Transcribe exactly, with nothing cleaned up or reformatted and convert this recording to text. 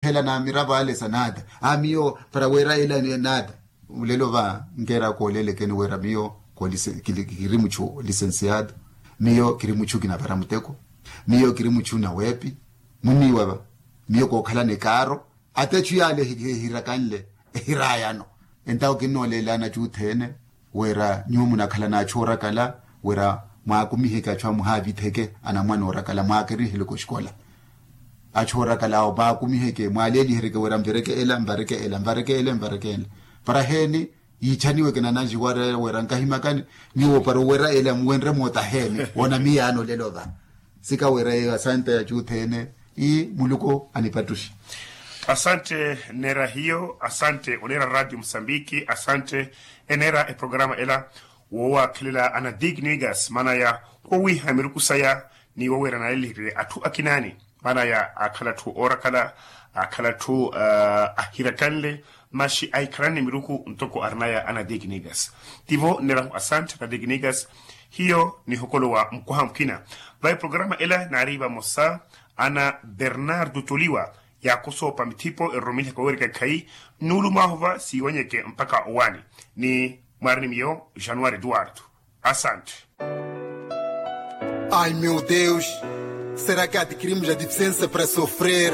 Hela na miravo ale sa nada a miyo para wera ela nada. Ulelo va nkera koolelekeni wera miyo kiri muchu lisensiado, miyo kiri muchu kinavara muteko, miyo kiri muchu nawepi. Muniwa va miyo kookhala ni kaaro. Ata echu yale ehirakanle ehirayano. Entawo kinnooleelana achu othene wira nyuwo munakhala n'achu orakala wira mwaakumiheke achu amuhaavitheke anamwane orakala mwaakeriheleke oxikola. Achu orakala awo mwaakumiheke mwaaleelihereke wira mvireke ela mvareke ela mvareke ela mvareke ela. Para heeni yiichaniweke nananji wira nkahimakani nyuwo para owira ela muwenre moota heeni woona miyaano olelo va. Sika wira eyo asante achu othene. Ii muluku anipattuxe. Asante. Nneera hiyo asante oneera radio musambiki asante. Eneera eprograma ela woowakhelela ana dignigas maanaya wowiha miruku saya ni woweera naleliheriwe atthu akinaani. Maanaya akhala atthu oorakala akhala atthu ahirakanle maxi ahikhalani miruku ntoko arinaya ana dignigas. Tivo nneerahu asante ana dignigas. Hiyo nihokolowa mukwaha mukina. Vayi programa ela naari vamosa ana bernardo toliwa yaakosoopa mithipo eroromilihaka oweereka ekhayi nnuulu mwaahova siiwanyeke mpakha owaani ni mwaari ni miyo januari eduardo. Asante. Ai meu deus, será que adquirimos a deficiência para sofrer?